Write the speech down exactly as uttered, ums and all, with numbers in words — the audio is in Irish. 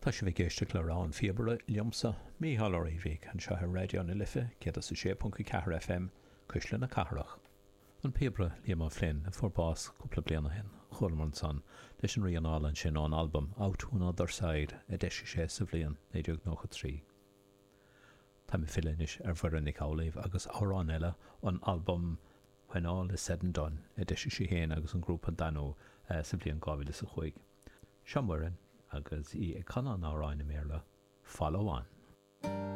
Tá sibh ag éisteacht le Rogha an Phíobaire liomsa, Mícheál Ó Riabhaigh, anseo ar Raidió na Life céad is a sé ponc a ceathair F M, Cuisle na Cathrach. An píobaire Liam O'Flynn, a fuair bás cúpla bliain ó shin, chualamar ansan leis an rian álainn sin ón albam Out to Another Side a d'eisigh sé sa bhliain naoi déag nócha trí. Táim ag filleadh anois ar Mhuireann Nic Amhlaoibh agus amhrán eile ón albam When All Is Said and Done a d'eisigh sí féin agus an grúpa Danú sa bhliain dhá mhíle is a cúig. Seo Muireann agus í ag canadh an amhráin i mBéarla, Follow On.